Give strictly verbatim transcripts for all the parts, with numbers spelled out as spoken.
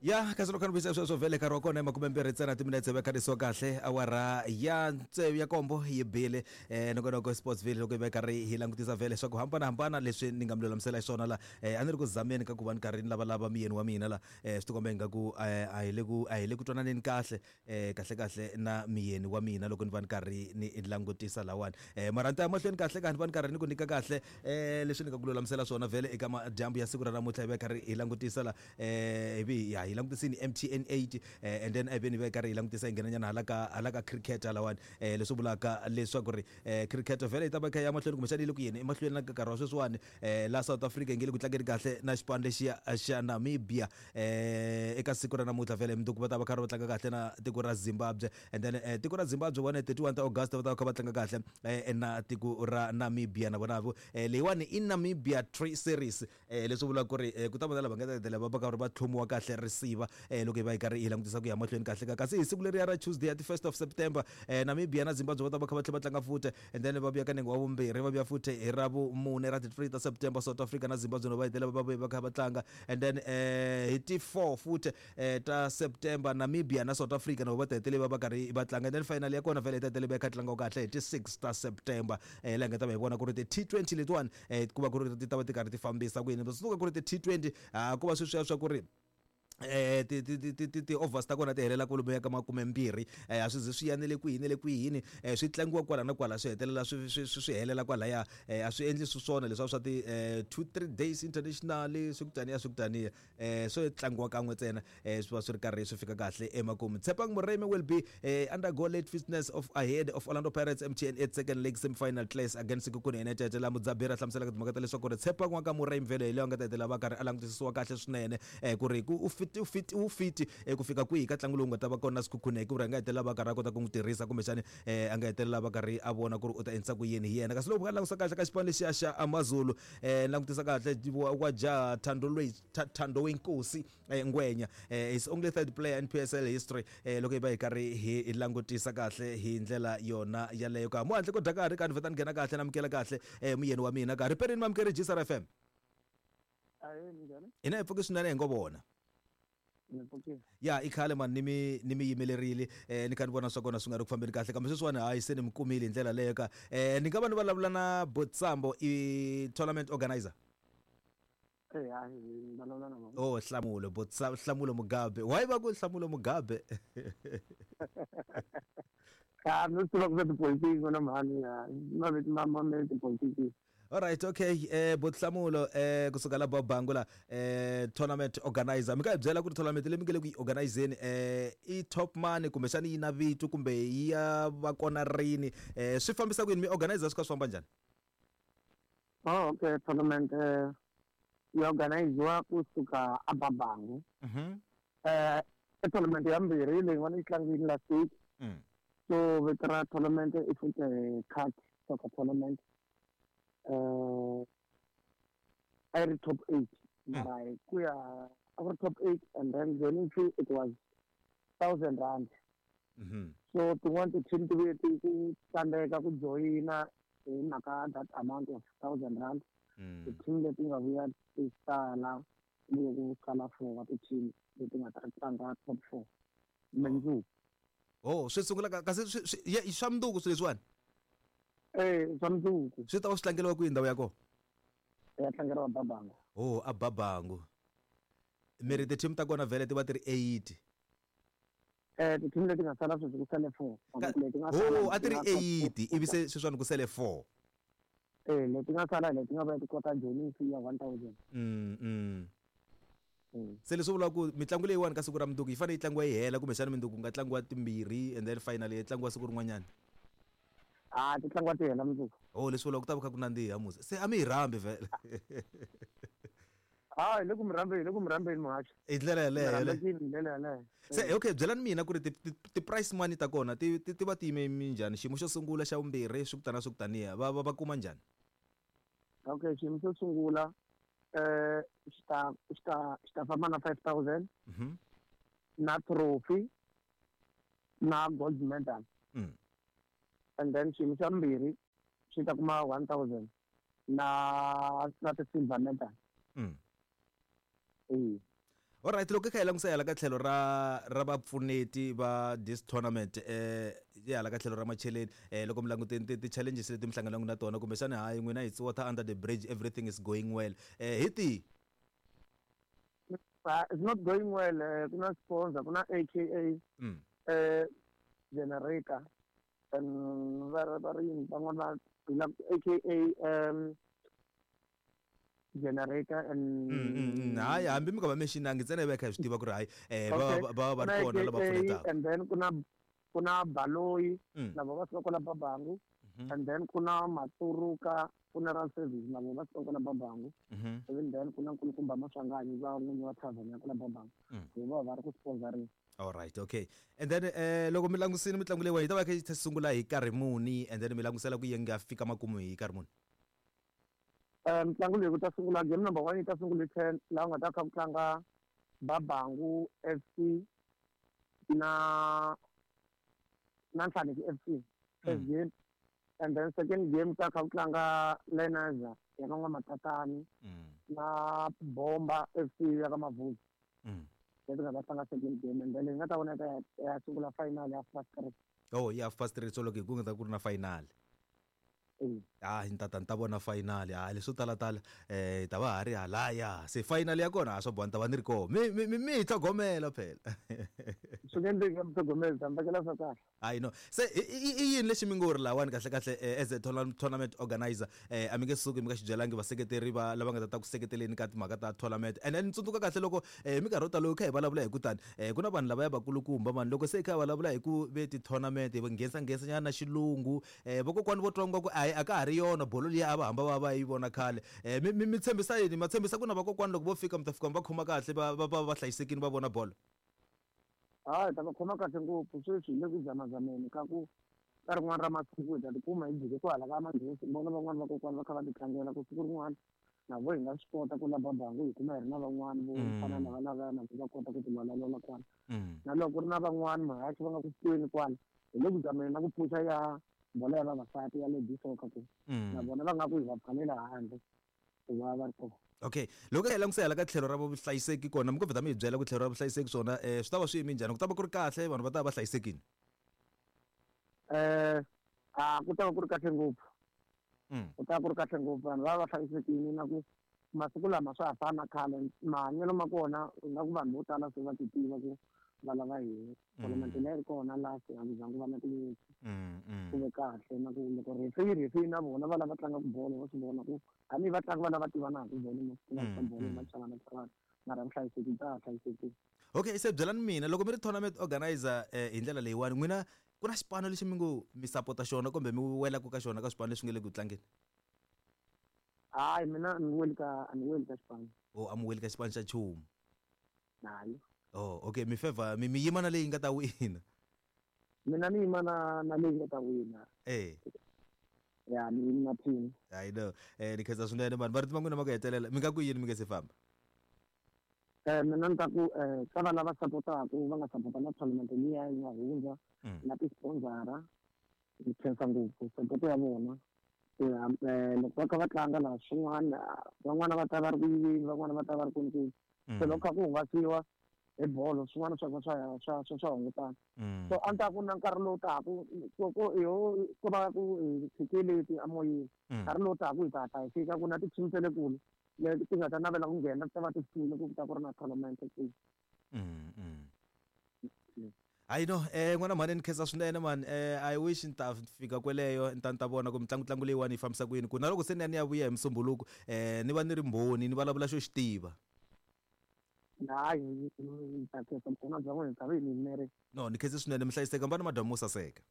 Ya kasi loko ni sweswo vhele nkarhi wa kona makume mbirhi ntsena timinetse va kharisiwa kahle awara ya tsevu ya kombo yi bile eh nongonoko Sportsville loko hi va karhi hi langutisa vhele swa ku hambanahambana leswi ni nga mi lulamisela xiswona la eh a ni ri ku zameni ka ku va ni karhi ni lavalava miyeni wa mina la eh swi tikomba ingaku a hi le ku a hi le ku twananeni kahle eh kahle kahle na miyeni wa mina loko ni va ni karhi ni langutisa lawani eh mara ni ta ya mahlweni kahle ka ni va ni karhi ni ku nyika kahle eh leswi ni nga ku lulamisela swona vhele eka madyambu ya siku ra namuntlha hi va karhi hi langutisa la eh hi ya hi langutisini M T N eight eh, and then ivi ni va karhi hi langutisa hi nghenanyana hala ka hala ka cricket halawani eh, leswi vulaka leswaku ri eh, cricket vhele yi ta va kha ya mahlweni kumbexana yi le ku yeni emahlweni na nkarhi wa sweswiwani eh, la South Africa yi nge le ku tlangeni kahle na xipano lexiya xa Namibia eh, eka siku ra namuntlha vhele mundzuku va ta va karhi va tlanga kahle na tiko ra Zimbabwe and then eh, tiko ra Zimbabwe vona thirty-one ta August va ta va kha va tlanga kahle eh, na tiko ra Namibia na vona eh, leyiwani i Namibia Tri Series eh, leswi vulaka ku ri eh, ku ta vona lava nga ta hetelela va va karhi va tlhomiwa kahle risiva eh, loko hi va hi karhi hi langutisa ku ya mahlweni kahle ka kasi hi siku leriya ra Tuesday ya ti first of September eh, Namibia na Zimbabwe va ta va kha va tlhela va tlanga futhi and then va vuya ka nenge wa vumbirhi va vuya futhi hi ra vumune ra ti three ta September South Africa na Zimbabwe no va hetelela va vuya va kha va tlanga and then eh, hi ti four futhi eh, ta September Namibia na South Africa na va ta hetelela va va karhi va tlanga and then final ya kona vhele yi ta hetelela va kha tlangiwa kahle hi ti six ta September eh, laha hi nga ta va hi vona ku ri ti T twenty letiwani eh, ku va ku ri ti ta va ti karhi ti fambisa ku yini suka ku ri ti T twenty ah ku va sweswiya swa ku ri eh ti ti ti ti ti overs ta kona ti helela kwalomu ya ka makume mbirhi eh a swi ze swi yanele kwihini le kwihini eh swi tlangiwa kwala na kwala swi hetelela swi swi swi helela kwalaya eh a swi endli swi swona leswi swa ti eh two three days international swi ku taniya swi ku taniya eh swo tlangiwa kan'we ntsena eh swi va swi ri karhi swi fika kahle emakumu. Tshepang Moremi will be eh, undergo late fitness of ahead of Orlando Pirates M T N eight second leg semi-final clash against Sekhukhune United la Mudzabira hlamuselaka timhaka ta leswaku ri Tshepang wa ka Moremi vhele hi leyi a nga ta hetelela va karhi a langutisisiwa kahle swinene eh ku ri ku u fit u fit u fit ku fika kwihi ka ntlangu lowu nga ta va kona Sekhukhune ku ri a nga hetelela va karhi a kota ku n'wi tirhisa kumbexani eh a nga hetelela va karhi a vona ku ri u ta endlisa ku yini hi yena kasi loko va langutisa kahle ka xipano lexiya xa AmaZulu eh langutisa kahle wa ja Thando Lwe Thando Wenkosi eh, Ngwenya eh, is only third player in P S L history eh, loko hi va hi karhi hi langutisa kahle hi ndlela yona yaleyo ka mo handle ko dya karhi ka ni vheta ni nghena kahle na amukela kahle eh, muyeni wa mina ka riperini mamukeri G S R F M ina hi pfuki swinene hi ngo vona ya i khale mani ni mi ni mi yimelerile eh ni kha ni vona swa kona swi nga ri ku fambeni kahle kambe sweswiwani hayi se ni mi kumile hi ndlela leyo ka eh ni nga va ni vulavula na Botsambo i tournament organizer. Oh Hlamulo Botsambo Hlamulo Mugabe why va ku Hlamulo Mugabe ah no tiva ku tipolitiki na mhani ma viti ma ma tipolitiki. All right, okay. Eh Bothlamulo eh kusuka la Babangula eh tournament organizer. Mi ka hi byela ku ri tournament leyi mi nge le ku yi organizeni eh i top money kumbe xana yi na vito kumbe yi ya va kona rini eh swi fambisa ku yini mi organizer swi ka swi famba njhani? Oh okay, tournament eh yi organiziwa kusuka a Babangu. Mhm. Eh i tournament ya mbirhi leyi n'wana yi tlangile last week. Mm. So vito ra tournament i futhi card soccer tournament. Uh, I read top eight. Mara kuya our top eight and then joining fee it was thousand rand. Mm-hmm. So to want to team to be to tandeka ku joina in maka that amount of thousand rand. Mm. The team that we had to sala we go sala for what the team that we tlanga top four. Mundzuku. Oh, swi sungula kasi swi swa mundzuku swilo leswiwani. Eh swa mundzuku. Swi ta va swi tlangeriwa kwihi ndhawu ya kona? Ya tlangeriwa Babangu. Oh, a Babangu. Mi ri ti-team ta kona vhele ti va ti ri eight. Eh ti-team leti nga sala sweswi ku sele four. Leti nga sala. Oh, a ti ri eight ivi se sweswiwani ku sele four. Eh leti nga sala leti nga va ti kota joining fee ya one thousand. Mm mm. Se leswi vulaka ku mitlangu leyiwani ka siku ra mundzuku yi fanele yi tlangiwa yi hela kumbexana mundzuku ku nga tlangiwa timbirhi and then finally yi tlangiwa siku rin'wanyana. Ah ti tlangiwa ti hela mundzuku. Oh leswi vulaka ku ta va kha ku nandziha musa. Se a mi hi rhambi vhele. Ah le ku mi rhambeni le ku mi rhambeni muhaxi. Hi ndlela yaleyo. Hi ndlela yaleyo. Se okay byelani mina ku ri ti price money ta kona ti ti va ti yime minjhani xiyimo xo sungula xa vumbirhi swi ku tana swi ku taniya va va va kuma njhani? Okay xiyimo xo sungula eh xita xita xita famba na five thousand. Mhm. Na trophy na gold medal. Mm. And then xiyimo xa mbirhi xi ta kuma one thousand na na ti silver medal. Mm. Eh. Alright, loko hi kha hi langutisa hala ka tlhelo ra ra vapfuneti va this tournament eh ya hala ka tlhelo ra macheleni eh loko mi languteni ti-challenges leti mi hlanganaka na tona kumbexana hayi n'wina it's water under the bridge, everything is going well, eh hi tihi? It's not going well. Ku na sponsor, ku na A K A eh generator and va va ri van'wana va A K A um generator and hayi hambi mi nga va mentionangi ntsena hi va hi kha hi swi tiva ku ri hayi eh va va va ri kona lava pfunetaka. And then ku na ku na Baloyi na va va suka kwala Babangu, and then ku na Maturuka Funeral Service na va suka kwala Babangu, and then ku na Nkulukumba Maswanganyi va n'winyi wa tavern ya kwala Babangu, va va ri ku sponsoring. All right, okay. And then eh loko mi langusini mitlangu leyi yi ta va kha yi sungula hi nkarhi muni, and then mi langusela ku yi nga fika makumu hi nkarhi muni? Eh mitlangu leyi ku ta sungula game number one yi ta sungula hi ten, laha ku nga ta kha ku tlanga Babangu F C na na Nhlaneki F C first game, and then second game ta kha ku tlanga Lenaza ya ka N'wamatatani na Bomba F C ya ka Mavuzi. Leti nga ta tlanga second game, and then leyi nga ta vona ta ya sungula final ya first three. Oh, ya first three, so loko hi ku nga ta ku ri na final. Ah, ni ta ta ni ta vona final. Ah, leswo tala tala eh ta va ha ri halaya. Se final ya kona a swo boha ni ta va ni ri kona. Mi mi mi hi tlhogomela phela. Swi nge endleki mi tlhogomela, ta mi vekela swa kahle. I know. Se i yini lexi mi ngo ri lawani kahle kahle as a tournament organizer eh a mi nge suki mi nga xi byelangi vaseketeri va lava nga ta ta ku seketeleni ka timhaka ta tournament. And then ni tsundzuka kahle loko eh minkarhi yo tala kha hi vulavula hi ku tani eh ku na vanhu lava ya vakulukumba mani loko se kha hi vulavula hi ku ve ti-tournament hi nghenisa nghenisa nyana na xilungu eh vakokwani vo twa nga ku a ka ha ri yona bolo liya a va hamba va va yi vona khale. Eh mi mi tshembisa yini? Ma tshembisa ku na vakokwani loko vo fika mi ta fika mi va khoma kahle va va va hlayisekile va vona bolo? Hayi, ta va khoma kahle ngopfu. Sweswi hi le ku zamazameni ka ku ka rin'wana ra masiku hi ta tikuma hi jike ku hala ka manghezi, vona van'wana vakokwani va kha va ti tlangela ku siku rin'wana na vo hi nga swi kota ku la Babangu hi kuma hi ri na van'wana vo fana na va lavaya na vo va kota ku tilwalalola kwala. Na loko ku ri na van'wana mahaxi va nga ku tweni kwala, hi le ku zameni na ku pfuxa ya bolo ya vavasati ya ladies soccer ku na vona va nga ku hi va pfalela handle ku va va ri kona. Okay, loko hi langutisa hala ka tlhelo ra vuhlayiseki kona mi ko vheta mi hi byela ku tlhelo ra vuhlayiseki swona eh swi ta va swi yime njhani? Ku ta va ku ri kahle, vanhu va ta va hlayisekile? Eh a ku ta va ku ri kahle ngopfu. Ku ta va ku ri kahle ngopfu, vanhu va va hlayisekile na ku masiku lama swa ha fani na khale, mahanyelo ma kona nga ku vanhu vo tala se va ti tiva ku va lava yini. Tournament leyi ri kona last a ku zangi ku va na tinyimpi, ku ve kahle na ku loko referee referee na vona va lava tlangaka bolo va swi vona ku hambi vatlangi va lava tivanaka bolo masiku lama bolo va chavana chavana, mara vuhlayiseki bya ha hlayisekile. Okay, se byelani mina loko mi ri tournament organizer eh hi ndlela leyiwani n'wina ku na xipano lexi mi ngo mi sapota xona kumbe mi welaka ka xona ka swipano leswi nga le ku tlangeni? Hayi, mina a ni weli ka a ni weli ka xipano. Oh, a mi weli ka xipano xa nchumu? Hayi. Oh, okay, mi favor mi mi yima na leyi nga ta wina. Mina ni yima na na leyi nga ta wina. Eh. Ya, ni yima na team. I know. Eh ni khensa swinene vanhu va ri tima n'wina ma ku hetelela mi nga ku yini mi nge se famba? Eh mina ni ta ku eh ka va lava sapotaka va nga sapota na tournament liya yi nga hundza na ti-sponsora ni khensa ngopfu support ya vona. Loko va kha va tlanga laha swin'wana van'wana va ta va ri ku yiveni, van'wana va ta va ri kwini kwini. Se loko kha ku hungasiwa hi bolo swin'wana swa swa swa swa swa hungutana. So a ni ta ku na nkarhi lowu taka ku ku ku va ku hi tshikileti emoyeni, nkarhi lowu taka hi ta hatla hi fika ku na ti-team ta le kule leti ti nga ta navela ku nghena ti ta va ti file ku ta ku ri na tournament kwihi. Hayi no, eh n'wana mhani ni khensa swinene man. Eh I wish ni ta fika kweleyo ni ta ni ta vona ku mitlangu tlangu leyiwani yi fambisa ku yini, ku na loko se ni ya ni ya vuya hi musumbuluko eh ni va ni ri mbhoni ni vulavula xo xi tiva. Hayi, ni ta khensa vukona bya n'wina, ni ta va hi mi yimerile. No, ni khense swinene, mi hlayiseka, mi va na madyambu mo saseka.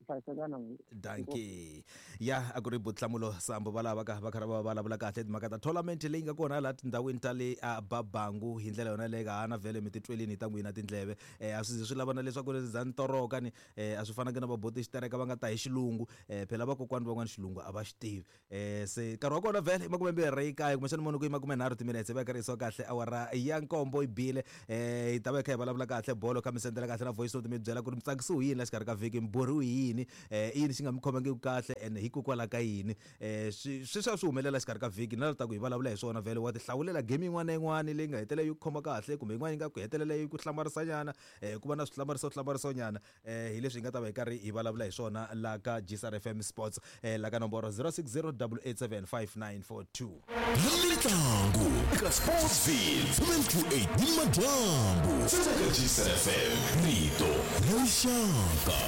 Hlayiseka na n'wina. Dankie. Ya a ku ri Nhlamulo Sambo va lava ka va kha va vulavula kahle timhaka ta tournament leyi nga kona laha tindhawini ta le Babangu hi ndlela yona leyi ka hana vhele mi titwelini hi ta n'wina tindleve. Eh a swi ze swi lava na leswaku za ni toroka ni eh a swi fanangi na vaboti xitereka va nga ta hi xilungu eh phela vakokwani van'wana xilungu a va xi tivi. Eh se nkarhi wa kona vhele i makume mbirhi kaye kumbexana munhu ku i makume nharhu timinetse va karhi yisiwa kahle awara ya nkombo yi bile. Eh hi ta va hi kha hi vulavula kahle bolo kha mi sendela kahle na voice note mi byela ku ri mi tsakisiwe yini la xikarhi ka vhiki, mi borhiwe yini. yini eh i yini xi nga mi khomangiki kahle and hikokwalaho ka yini eh swi swi swi humelela xikarhi ka vhiki na leta ku hi vulavula hi swona vhele wa ti hlawulela game yin'wana na yin'wana leyi nga hetelela yi ku khoma kahle kumbe yin'wana yi nga ku hetelela yi ku hlamarisanyana eh ku va na swihlamariso hlamarisonyana eh hi leswi hi nga ta va hi karhi hi vulavula hi swona la ka G S R F M Sports eh la ka nomboro zero six zero eight eight seven five nine four two. Mitlangu eka Sportsville seven two eight ni madyambu eka G S R F M rito ra rixaka.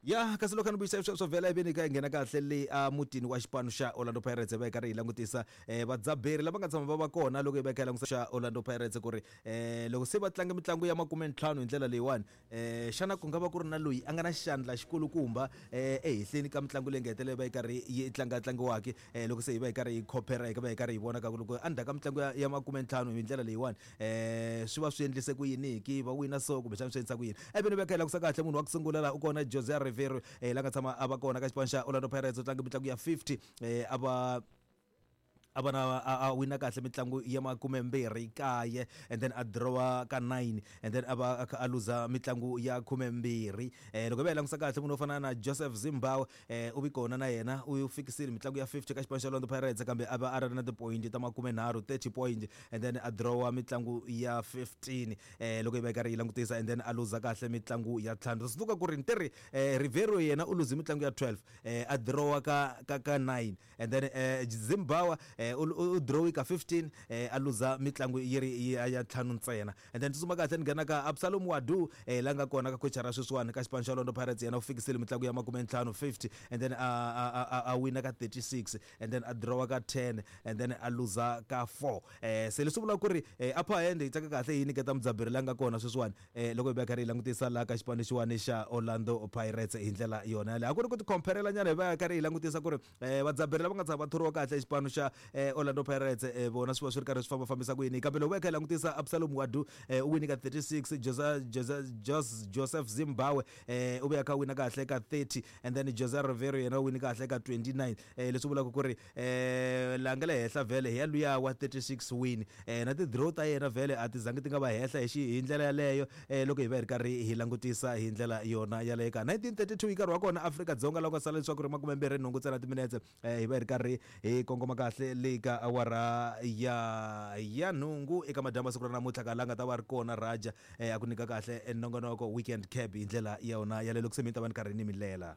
Ya kasi loko ni vuyisa sweswo vhela ivi ka nghena kahle le a mutini wa xipano xa Orlando Pirates va karhi hi langutisa eh vadzaberi lava nga tshama va va kona loko hi va kha hi langutisa xa Orlando Pirates ku ri eh loko se va tlanga mitlangu ya makume ntlhanu hi ndlela leyiwani eh xana ku nga va ku ri na loyi a nga na xandla xikulukumba eh ehenhleni ka mitlangu leyi nga hetelela va yi karhi yi tlanga tlangiwaka eh loko se hi va hi karhi hi compare hi va hi karhi hi vona ka ku loko endzhaku ka mitlangu ya makume ntlhanu hi ndlela leyiwani eh swi va swi endlise ku yini ki va wina so kumbe xana swi endlisa ku yini ivi ni va kha hi langutisa kahle munhu wa ku sungula laha u kona Jose Rivero eh la nga tshama a va kona ka xipano xa Orlando Pirates u tlanga mitlangu ya fifty eh a va a va na a wina kahle mitlangu ya makume mbirhi kaye and then a drawa ka nine and then a va a luza mitlangu ya khume mbirhi eh loko va langutisa kahle munhu wo fana na Joseph Zimbabwe eh u vi kona na yena u fikisile mitlangu ya fifty ka xipano xa Orlando Pirates kambe a va a ri na ti-point ta makume nharhu thirty point and then a drawa mitlangu ya fifteen eh loko hi va karhi yi langutisa and then a luza kahle mitlangu ya ntlhanu swi suka ku ri ntirhi eh Rivero yena u luze mitlangu ya twelve eh a drawa ka ka ka nine and then eh Zimbabwe eh u draw ka fifteen eh a luza mitlangu yi ri ya ntlhanu ntsena and then tsutsuma kahle ni nghena ka Absalom Wadu eh la nga kona ka coach ra sweswiwani ka xipano xa Orlando Pirates yena u fikisile mitlangu ya makume ntlhanu fifty and then a a a wina ka thirty-six and then a draw ka ten and then a luza ka four eh se leswi vula ku ri upper hand yi tsaka kahle yi nyiketa mudzaberi la nga kona sweswiwani eh loko hi va karhi hi langutisa la ka xipano xiwani xa Orlando Pirates hi ndlela yona yaleyo a ku ri ku ti compare nyana hi va karhi hi langutisa ku ri eh vadzaberi lava nga tshama va thoriwa kahle xipano xa Orlando Pirates eh vona swi va swi ri karhi swi famba fambisa ku yini kambe loko va kha hi langutisa Absalom Wadu eh u wini ka thirty-six Jose Jose Joseph Zimbabwe eh u vuya kha wina kahle ka thirty and then Jose Rivero yena u wini kahle ka twenty-nine eh leswi vulaka ku ri eh la nga le henhla vhele hi ya luya wa thirty-six win eh na ti draw ta yena vhele a ti zangi ti nga va henhla hi xi hi ndlela yaleyo eh loko hi va hi ri karhi hi langutisa hi ndlela yona yaleyo ka nineteen thirty-two hi nkarhi wa kona Afrika Dzonga loko sala leswaku ri makume mbirhi nhungu ntsena timinetse eh hi va hi ri karhi hi kongoma kahle le ka awara ya ya nhungu eka madyambu siku ra namuntlha ka la nga ta va ri kona Raja eh a ku nyika kahle nongonoko weekend cab hi ndlela ya yona yaleyo loko se mi ta va ni karhi ni mi lela.